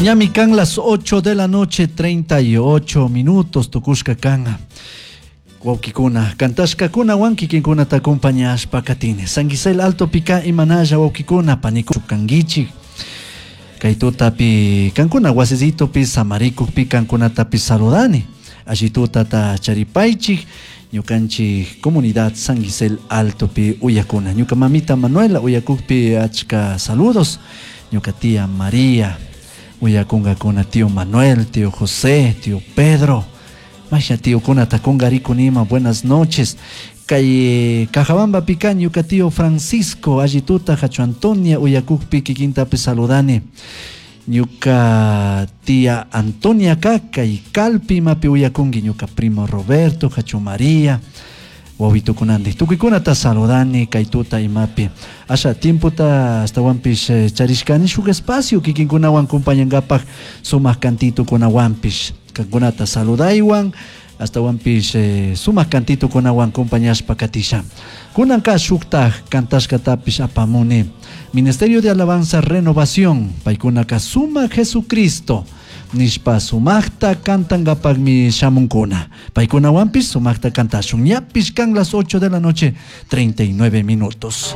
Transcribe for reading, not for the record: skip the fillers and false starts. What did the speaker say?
Ñami kan las 8 de la noche 38 minutos tukushka kan. Wawkikuna, kantashkakunawan kikinkunata acompañashpa katini. San Gisel Alto pika imanalla wawkikuna paniku kankichik. Kay tutapi kankuna wasisitopi samarikukpi kankunatapi saludani. Alli tutata charipaychik ñukanchik comunidad San Gisel Altopi uyakuna. Ñuka mamita Manuela uyakukpi achka saludos. Ñuka tía María uyakunkakuna tío Manuel, tío José, tío Pedro. Masha tíokunata kunkarikunima, buenas noches. Kay Cajabamba pika ñuka tío Francisco, alli tuta hachu Antonia uyakukpi kikintapi saludani. Ñuka tía Antonia ka kay Calpi imapi uyakunki ñuka primo Roberto, hachu María, wawitukunanti. Tukuykunata saludani kay tuta imapi. Asha tiempota astawanpish charishkani shuk espacio kikinkunawan compañankapaj sumak cantitukunawanpish. Kankunata saludaywan astawanpish sumak cantitukunawan compañashpa katisha. Kunanka shuktaj kantashkatapish apamuni. Ministerio de Alabanza Renovación, paykunaka sumak Jesucristo nishpa sumakta kantankapakmi shamunkuna. Paykunawanpish sumakta kantashun. Ñapish kan las 8 de la noche, 39 minutos.